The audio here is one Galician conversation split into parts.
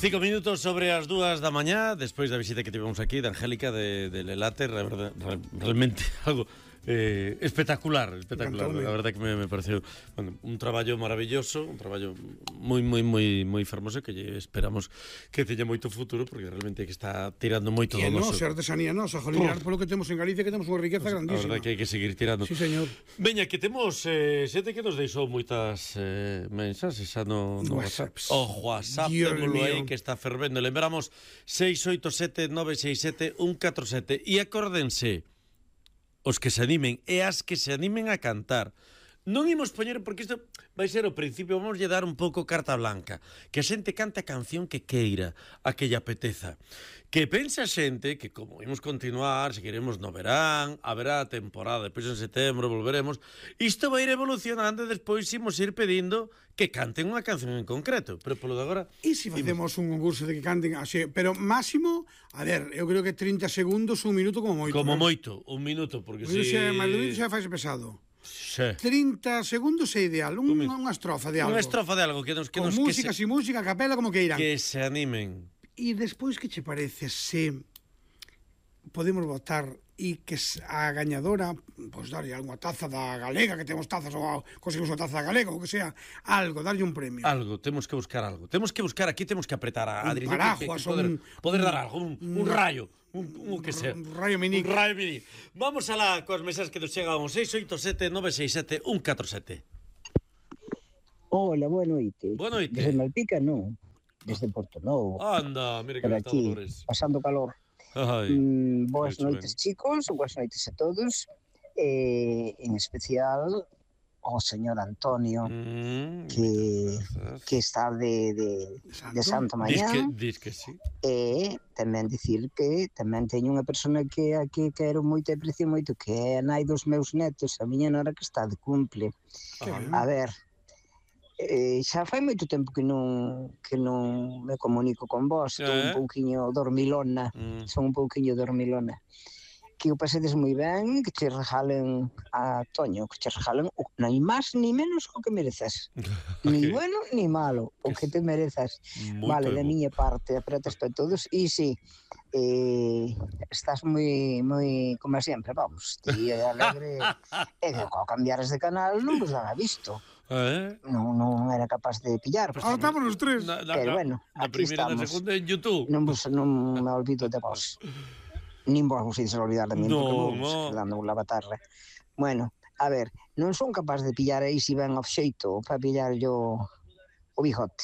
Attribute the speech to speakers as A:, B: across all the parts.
A: 5 minutos sobre as 2 da mañá, despois da visita que tivemos aquí, da Angélica, de Lelate, realmente algo espectacular. La verdad que me pareceu un traballo maravilloso, un traballo moi fermoso, que esperamos que teña moito futuro, porque realmente que está tirando moito do noso.
B: E artesanía nosa, jolinear polo que temos en Galicia, que temos unha riqueza grandísima.
A: A verdade que hai que seguir tirando.
B: Sí, señor.
A: Veña, que temos xente que nos deixou moitas mensaxes xa no WhatsApp. O WhatsApp, témolo aí, que está fervendo. Lembramos 687-967-147. E acórdense, os que se animen e as que se animen a cantar. Non imos poñer, porque isto vai ser o principio, vamos lle dar un pouco carta blanca, que a xente cante a canción que queira, a que lle apeteza. Que pensa a xente que, como imos continuar, seguiremos no verán, haberá temporada, depois en setembro volveremos, isto vai ir evolucionando e despois imos ir pedindo que canten unha canción en concreto, pero polo de agora...
B: E se facemos un concurso de que canten así, pero máximo, a ver, eu creo que 30 segundos, un minuto como moito.
A: Como moito, un minuto, porque
B: si... Mas xa faz pesado.
A: Sí.
B: 30 segundos é ideal, unha estrofa de algo.
A: Unha estrofa de algo que nos
B: con música, sin música, a capela, como que irán.
A: Que se animen.
B: E despois, que che parece se podemos votar e que a gañadora, pois darlle algunha taza da Galega, que temos tazas, ou conseguimos unha taza da Galega, ou que sea, algo, darlle un premio.
A: Algo, temos que buscar algo. Temos que buscar aquí, temos que apretar a
B: Adri. Un paraguas,
A: poder dar algo, un rayo. Un que sea.
B: Un rayo mini.
A: Un rayo mini. Vamos alá coas mesas que nos chegan ao 687-967-147.
C: Hola, boa noite.
A: Boa noite.
C: Desde Malpica, non. Desde Porto Novo.
A: Anda, mira que está Dolores.
C: Pasando calor. Boas noites, chicos. Boas noites a todos. En especial ao señor Antonio, que está de Santo Mañán.
A: Diz que sí.
C: E tamén dicir que tamén teño unha persona que aquí quero moito e aprecio moito, que é a nai dos meus netos, a miña nora, que está de cumple. A ver, xa fai moito tempo que non me comunico con vos. Estou un pouquiño dormilona. Son un pouquiño dormilona. Que o pasedes moi ben, que te regalen a Toño, que te regalen non máis ni menos o que mereces. Ni bueno ni malo, o que te merezas. Vale, de miña parte, apretas para todos. E sí, estás moi como sempre, vamos, ti alegre. E que ao cambiares de canal non vos daba visto. Non era capaz de pillar.
B: Ahora estamos os tres.
C: Pero bueno, aquí estamos.
A: Na segunda en YouTube.
C: Non me olvido de vos. Nin vos ides olvidar de mí, porque vos dando un lavatarre. Bueno, a ver, non son capaz de pillar aí se ven ao xeito para pillar yo o bigote.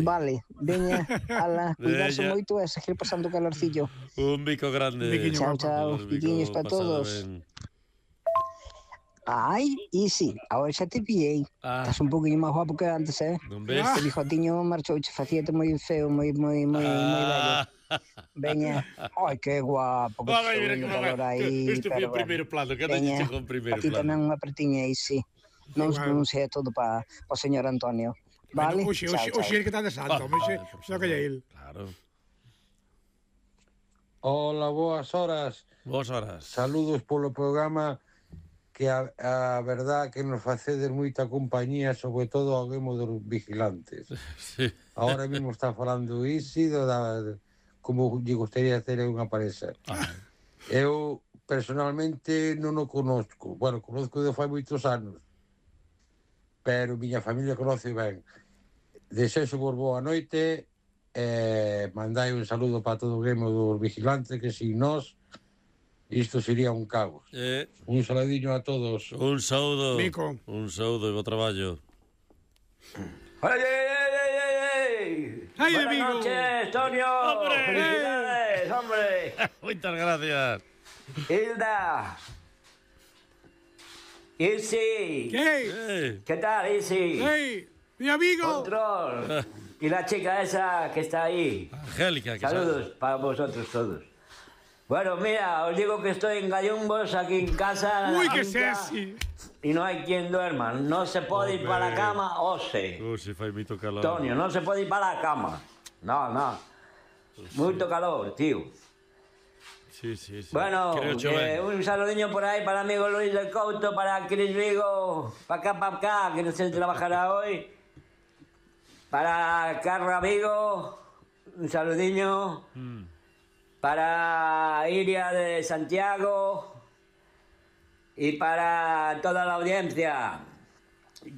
C: Vale, veña, ala, cuidarse moito e seguir pasando calorcillo.
A: Un bico grande.
C: Chao, biquiños para todos. Ai, e sí, agora xa te pillei. Estás un poquinho máis guapo que antes,
A: Non ves?
C: O bigotiño marchouche, facíate moi feo, moi vello. Veña, ai, que guapo, que estou calor aí.
A: Isto foi o primeiro plano, que andaxe con o primeiro plano.
C: A ti tamén unha apertiña aí, sí. Non sei todo para o señor Antonio. Vale?
B: Oxe, ele que está de santo, oxe, xa que é el.
A: Claro.
D: Hola, boas horas.
A: Boas horas.
D: Saludos polo programa, que a verdad que nos facedes moita compañía, sobre todo ao Guemo dos Vigilantes.
A: Sí.
D: Ahora mesmo está falando Isidro como lle gustaría ter unha parexa. Eu personalmente non o conozco. Bueno, conozco de fai moitos anos, pero miña familia conoce ben. Desexo vos boa noite, mandai un saludo para todo o Guemo dos Vigilantes, que sin nós isto sería un caos. Un saladiño a todos.
A: Un saúdo.
B: Mico.
A: Un saúdo e bo traballo.
B: ¡Ay,
E: buenas
B: amigo!
E: noches, Tonio.
A: ¡Hombre!
E: ¡Felicidades, hombre!
A: Muchas gracias.
E: Hilda. Isi. ¿Qué tal, Isi?
B: ¡Hey! ¡Mi amigo!
E: Control. Y la chica esa que está ahí.
A: Angélica.
E: Saludos para vosotros todos. Bueno, mira, os digo que estoy en Gallumbos, aquí en casa.
B: ¡Uy, qué sexy!
E: Y no hay quien duerma. No se puede ir para la cama, ose.
A: Si fai moito calor.
E: Tonio, no se puede ir para la cama. No. Mucho calor, tío.
A: Sí.
E: Bueno, un saludiño por ahí para amigo Luis del Couto, para Cris Vigo, para acá, que no se trabajará hoy. Para Carla Vigo, un saludiño para Iria de Santiago y para toda la audiencia,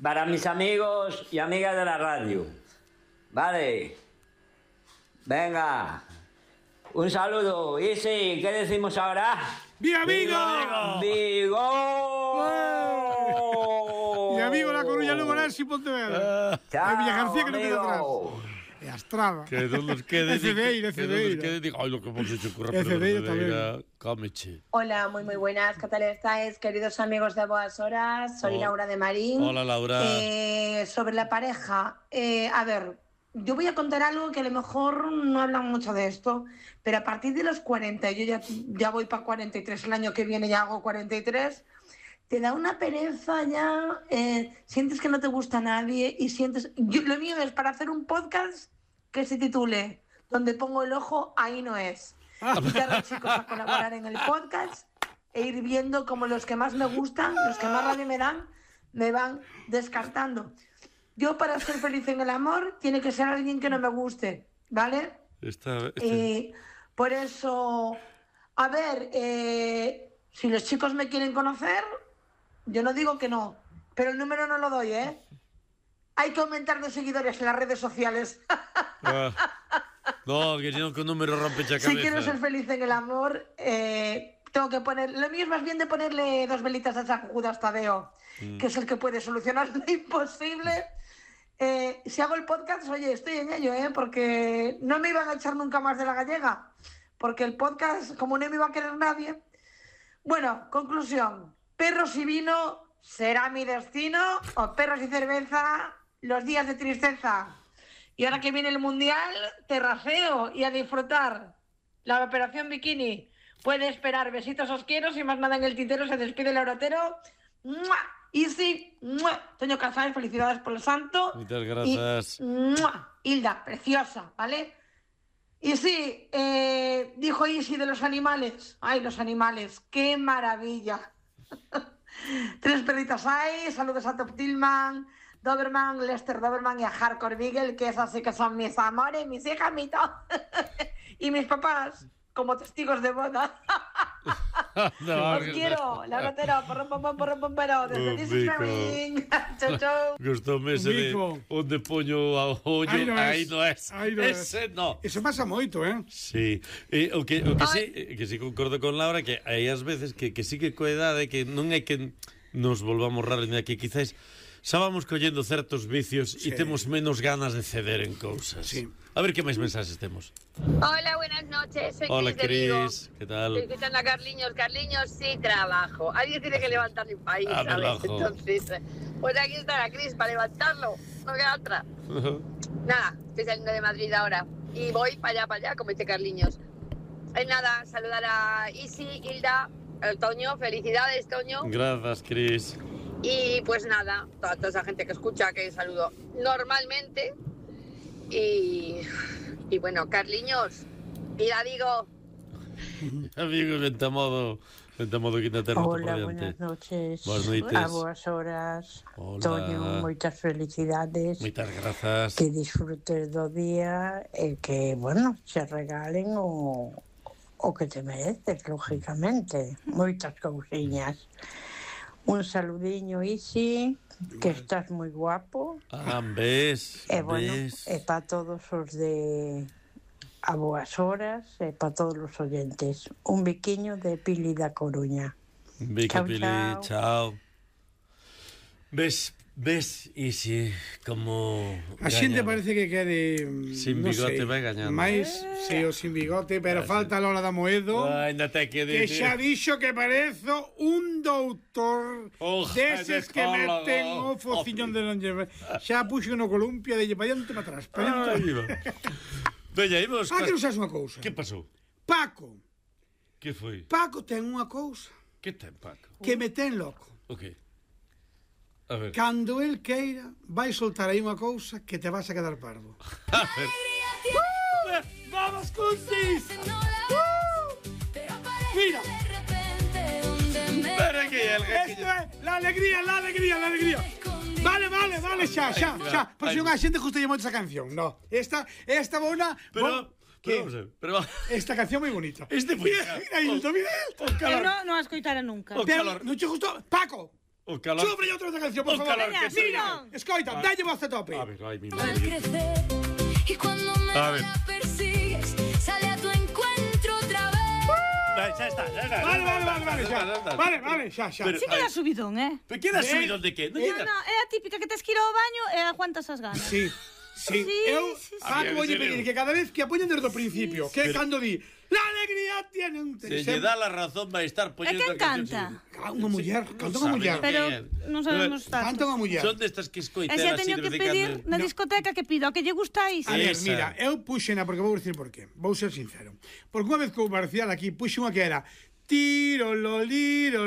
E: para mis amigos y amigas de la radio. Vale, venga, un saludo. Y sí, ¿qué decimos ahora?
B: ¡Viva Vigo!
E: ¡Vigo!
B: ¡Viva Vigo, La Coruña, Lugo, Orense y Pontevedra!
E: ¡Chao,
B: Villa García que no queda atrás.
E: amigo!
B: E a Estrada.
A: Que non nos quede...
B: Cedeira.
A: Ai, lo que hemos hecho curra, pero
B: Cedeira
A: Cedeira, cómeche.
F: Hola, muy buenas. ¿Qué tal estáis, queridos amigos de Boas Horas? Soy Laura de Marín.
A: Hola, Laura.
F: Sobre la pareja, a ver, yo voy a contar algo que a lo mejor no hablan mucho de esto, pero a partir de los 40, yo ya voy para 43, el año que viene ya hago 43, te da una pereza ya, sientes que no te gusta nadie y sientes... lo mío es para hacer un podcast que se titule Donde pongo el ojo, ahí no es. Invitar a los chicos a colaborar en el podcast e ir viendo como los que más me gustan, los que más rabia me dan, me van descartando. Yo, para ser feliz en el amor, tiene que ser alguien que no me guste, ¿vale? Por eso, a ver, si los chicos me quieren conocer, yo no digo que no, pero el número no lo doy, ¿eh? Hay que aumentar de seguidores en las redes sociales.
A: No, que si no, que un número rompe la cabeza.
F: Si quiero ser feliz en el amor, tengo que poner... Lo mío es más bien de ponerle 2 velitas a San Judas Tadeo, que es el que puede solucionar lo imposible. Si hago el podcast, oye, estoy en ello, porque no me iban a echar nunca más de la gallega, porque el podcast, como no me iba a querer nadie. Bueno, conclusión, perros y vino será mi destino, o perros y cerveza, los días de tristeza. Y ahora que viene el Mundial, terraceo y a disfrutar. La operación bikini puede esperar. Besitos, os quiero, sin más nada en el tintero, se despide el Orotero. ¡Mua! Easy, Toño Casares, felicidades por el santo.
A: Muchas gracias.
F: Y, Hilda, preciosa, ¿vale? Y sí, dijo Easy de los animales. Ay, los animales, qué maravilla. 3 perritas hay, saludos a Top Tillman, Doberman, Lester Doberman y a Hardcore Beagle, que esas sí que son mis amores, mis hijas, mi todo. Y mis papás, como testigos de boda. Os quiero, la rotera, porro, desde This is Marine. Chau, chau.
A: Gustoume ese de onde poño a ollo, aí non é. Ese non.
B: Eso pasa moito,
A: Sí. O que sí concordo con Laura, que hai as veces que sí que coa edade, que non é que nos volvamos raros, que quizás xa vamos collendo certos vicios e temos menos ganas de ceder en cousas.
B: Sí.
A: A ver que máis mensaxes temos.
G: Hola, buenas noches. Soy
A: Hola,
G: Cris.
A: ¿Qué tal?
G: Estoy escuchando a Carliños. Carliños, sí, trabajo. Alguien tiene que levantar mi país, ¿sabes? Entonces, pues aquí está la Cris para levantarlo. No queda otra. Nada, estoy saliendo de Madrid ahora. Y voy para allá, como dice Carliños. Nada, saludar a Isi, Hilda, Toño. Felicidades, Toño.
A: Gracias, Cris.
G: Y pues nada, toda esa gente que escucha, que saludo normalmente. Y bueno, Carliños, mira, digo.
A: Amigos, vente modo quítate a
H: Hola, buenas noches. A boas horas.
A: Hola.
H: Toño, moitas felicidades.
A: Moitas grazas.
H: Que disfrutes do día e que, bueno, se regalen o que te mereces, lógicamente. Moitas cousiñas. Un saludiño, Isi, que estás moi guapo.
A: Ves.
H: Bueno, e para todos os de A Boas Horas e para todos os oyentes. Un biquiño de Pili da Coruña.
A: Vicky, Pili, chao. Ves, Isi, como...
B: A xente parece que quede...
A: Sin bigote vai gañando.
B: Mais, sí, o sin bigote, pero falta a Lola da Moedo,
A: ainda te que
B: xa dixo que parezo un doutor deses que meten o fociñón de non lleve. Xa puxo no columpio de lle pa diante para atrás.
A: Veña, imos...
B: que non sabes unha cousa.
A: Que pasou?
B: Paco.
A: Que foi?
B: Paco ten unha cousa.
A: Que ten, Paco?
B: Que me ten loco.
A: O que? A ver.
B: Cando el queira, vai soltar aí unha cousa que te vas a quedar parvo.
A: A ver.
B: ¡Vamos, Cuntis! ¡Mira!
A: Pero aquí el
B: Esto es la alegría. Vale, xa. Por si unha xente gustalle moito esa canción. No, esta bona...
A: Pero
B: esta canción moi bonita.
A: Mira,
I: Eu non a escoitara nunca.
B: Pero non che gustou? Paco,
A: o calor.
B: sobre outra canción, por favor.
I: Mira,
B: Escoita, dalle voz a tope.
A: A ver, ai, mi
J: Al
A: madre.
J: crecer y cuando me
A: A ver.
J: la persigues, sale a tu encuentro otra vez.
A: Xa está.
B: Vale, xa.
A: Pero-
I: sí que dá subidón,
A: Pero que dá subidón de que?
I: No, é a típica que tes que ir ao baño e aguantas as ganas.
B: Sí. Eu, Paco, vou pedir que cada vez que a poñen desde o principio, que cando di la alegría tiene un...
A: Se lle dá la razón vai estar
I: E
A: poñendo
I: quen canta?
B: Unha muller, canta unha muller.
I: Pero non sabemos
B: Canta
I: tanto.
B: unha muller.
A: Son destas que
I: E
A: escoitan
I: se
A: así
I: teño
A: de
I: que
A: vez en
I: pedir
A: cando.
I: na discoteca que pido, que lle gustáis.
B: A ver,
A: Esa.
B: mira, eu puxena, porque vou dicir por qué. Vou ser sincero. Porque unha vez que o Marcial aquí puxe unha que era tiro, lo, liro,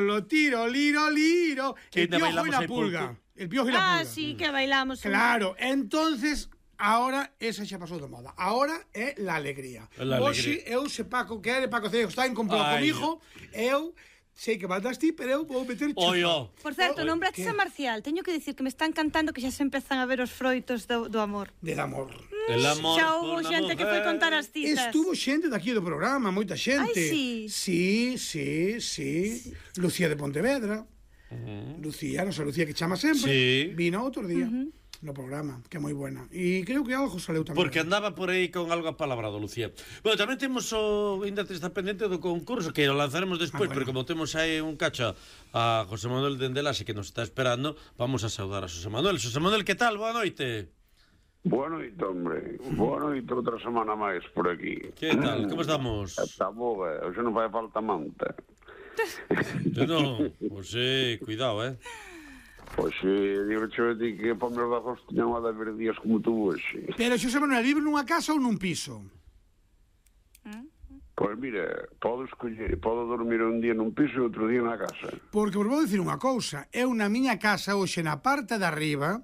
A: Que
B: el
A: ainda
B: piojo y
A: bailamos
B: la
A: aí
B: pulga.
A: pouco.
B: El piojo y la pulga.
I: Sí, que bailamos.
B: Claro, entonces... Ahora esa xa pasou de moda. Ahora é la alegría.
A: La
B: Hoxe eu se Paco quere, Paco Cego está en complot
A: Ai.
B: comigo, eu sei que baldas ti, pero eu vou meter chufa.
A: Oio.
I: Por certo, nombraches a Marcial. Teño que dicir que me están cantando que xa se empezan a ver os froitos do amor.
B: Del amor.
A: El amor
I: Xa
A: por
I: houve
A: una
I: xente que foi
A: mujer.
I: contar as citas.
B: Estuvo xente daqui do programa, moita xente.
I: Ai, sí.
B: Sí. Lucía de Pontevedra. Lucía, nosa Lucía que chama sempre.
A: Sí.
B: Vino outro día no programa, que é moi buena. E creo que algo saleu tamén.
A: Porque andaba por aí con algo apalabrado, Lucía. Bueno, tamén temos o... Ainda te está pendente do concurso, que o lanzaremos despois, pero como temos aí un cacho a José Manuel Dendelase que nos está esperando, vamos a saudar a José Manuel. José Manuel, que tal? Boa noite.
K: Boa noite, hombre. Boa noite, outra semana máis por aquí.
A: Que tal? Como estamos?
K: Está boa, hoxe non fai falta manta.
A: Non, José, cuidado,
K: Pois digo che que para meus dazos tiñan a de ver días como tú hoxe.
B: Pero Xosé Manuel, vive nunha casa ou nun piso?
K: Pois mira, podo escoller, podo dormir un día nun piso e outro día na casa.
B: Porque vos vou dicir unha cousa, eu na miña casa hoxe na parte de arriba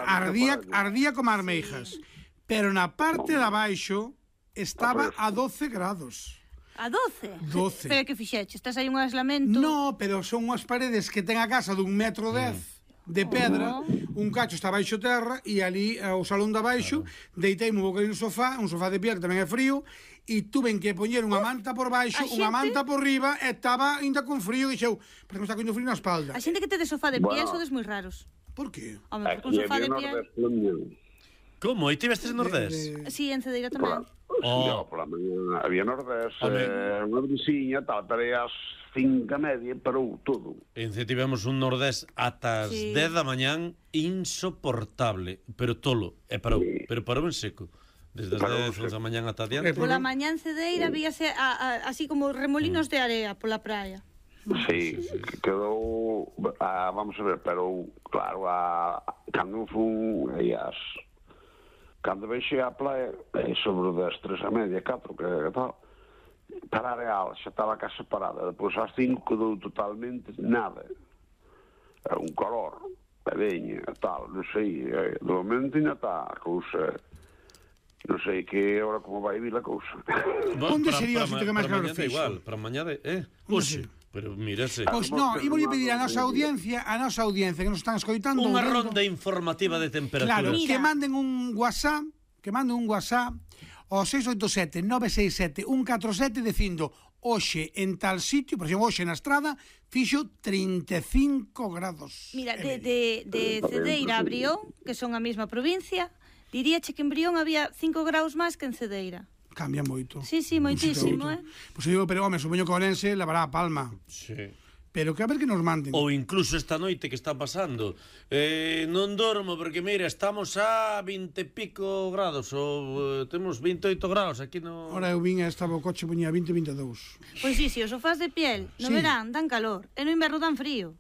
B: ardía como armeijas, pero na parte de abaixo estaba a 12 grados.
I: A 12?
B: 12.
I: Pero que fixeche? Estás aí un aislamento?
B: No, pero son unhas paredes que ten a casa dun 1,10 m de pedra, un cacho está baixo terra e ali o salón de baixo deiteime un bocadinho no sofá, un sofá de piel que tamén é frío, e tuven que poñer unha manta por baixo, unha manta por riba, e estaba ainda con frío, e dixeu, pero me está coñendo frío na espalda.
I: A xente que te de sofá de piel sodes moi raros.
B: Por qué?
I: Home, porque un sofá de piel...
A: Como? E tivestes en Nordés?
I: Sí, en Cedeira tamén.
K: Pola mañá había Nordés, unha veciña, tal, pero as 5:30 parou todo.
A: En C tivemos un Nordés ata as 10 da mañán insoportable, pero tolo, e parou, pero parou en seco. Desde as 10 da mañán ata diante.
I: Pola mañá en Cedeira víase así como remolinos de area pola praia.
K: Sí, quedou, vamos a ver, pero claro, cando fun cando veixe a playa sobre das 3:30, 4, que tal, para a Real xa estaba a casa parada, depois ás 5 quedou totalmente nada, un calor, a veña, tal, non sei, de momento ainda está a cousa, non sei que hora como vai vir a cousa.
B: Onde sería o sitio que máis calor fixo?
A: Igual, para mañá hoxe. Pero mírase.
B: Pois non, ímolle pedir a nosa audiencia que nos están escoitando
A: unha ronda informativa de temperatura.
B: Claro, que manden un WhatsApp, ao 687 967 147 dicindo hoxe en tal sitio, por exemplo, hoxe na estrada fixo 35 grados.
I: Mira, de Cedeira a Brión, que son a mesma provincia, diríache que en Brión había 5 graus máis que en Cedeira.
B: Cambia moito.
I: Sí, moitísimo,
B: Pois eu digo, pero home, supoño que Orense levará a Palma.
A: Sí.
B: Pero que a ver que nos manden.
A: Ou incluso esta noite que está pasando. Non dormo porque, mira, estamos a 20 e pico grados, ou temos 28 graus aquí no...
B: Ora eu vin e estaba o coche poñía 20, 22.
I: Pois sí, os sofás de piel no verán dan calor, e no inverno dan frío.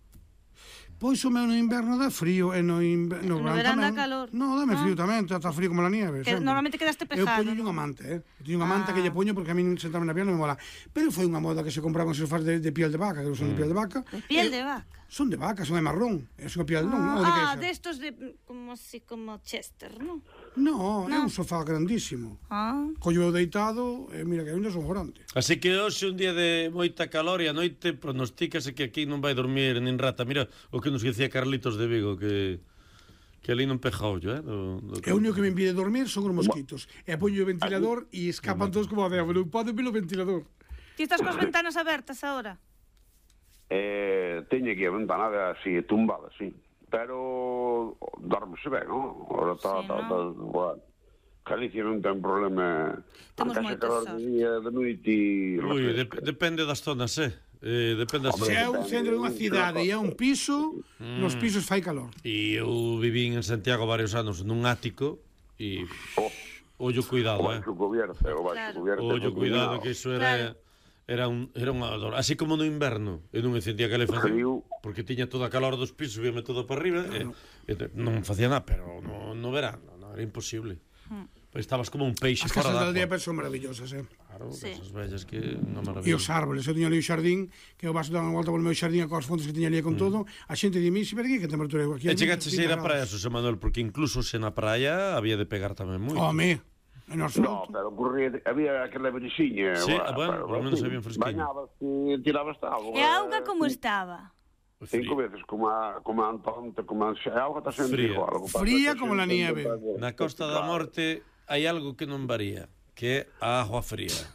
B: Pois o meu no inverno dá frío e no
I: verán
B: tamén.
I: dá calor.
B: No, dame frío tamén, está frío como la nieve.
I: Que normalmente quedaste pejado.
B: Eu poño unha manta, Eu teño unha manta que lle poño porque a mí sentarme na piel non me mola. Pero foi unha moda que se compraban sofás de piel de vaca, que non son de piel de vaca.
I: De piel de vaca?
B: Son de vaca, son de marrón. É unha piel, non?
I: Destos de, como así, como Chester, non?
B: No, é un sofá grandísimo. Collo eu deitado, e mira que ainda son grande.
A: Así que hoxe un día de moita calor e a noite pronostícase que aquí non vai dormir nin rata. Mira o que nos dicía Carlitos de Vigo, que ali non peja ollo,
B: E o único que me impide dormir son os mosquitos. E poño o ventilador e escapan todos como a debo. Non poden ver o ventilador.
I: Ti estás coas ventanas abertas agora?
K: Teño aquí a ventana así, tumbada, sí. Pero dorme-se ben, non? Ora está, bueno. Galicia non ten problema.
I: Temos moitos
K: de día, de noite e...
A: Ui, depende das zonas, depende das zonas.
B: Se é un centro dunha cidade e é un piso, nos pisos fai calor.
A: E eu vivín en Santiago varios anos nun ático e... Ollo cuidado, Ollo cuidado, que iso era unha dor. Así como no inverno, eu non me sentía calefacción, porque tiña toda a calor dos pisos, víame todo para arriba, e non facía nada, pero no verano, era imposible. Estabas como un peixe fora da
B: agua. As casas da aldea son maravillosas,
A: Claro, casas bellas que unha maravilla.
B: E os árboles, eu tiña ali o xardín, que eu vas dar unha volta polo meu xardín coas fontes que tiña ali con todo, a xente di mí, pero que temperatura é aquí?
A: E chegaches a ir á praia, Xosé Manuel, porque incluso se na praia había de pegar tamén moito.
B: Home,
K: no, pero ocurría, había aquela brisiña.
A: Sí, bueno, por lo menos había un fresquinho.
K: Bañabas e tirabas agua.
I: E a auga como estaba?
K: 5 veces, como a Antonte, como a auga está sempre igual.
B: Fría como la nieve.
A: Na Costa da Morte hai algo que non varía, que é a agua fría.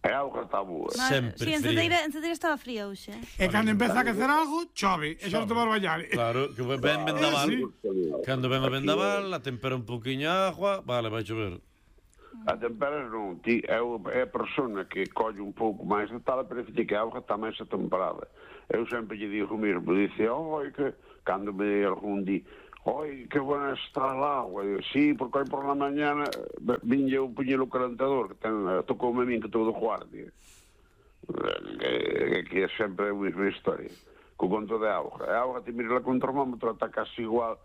K: A auga está boa.
A: Sempre
I: fría. En Cedeira estaba fría hoxe.
B: E cando empeza a quecer algo, chove, e xa non tomar bañar.
A: Claro, que ven vendaval. Cando ven o vendaval, a tempera un pouquiño a agua, vale, vai chover.
K: A temperas non, é a persona que colle un pouco máis de tal, pero que a auga está máis atemperada. Eu sempre lle digo o mesmo, dice, oi, que cando me algún di, oi, que buena está el agua, digo, sí, porque hoy por la mañana vinha un puñelo calentador, que tocoume a min que todo guardia. Que é sempre a mesma historia. Co conto de auga. A auga, te mira con termómetro, está casi igual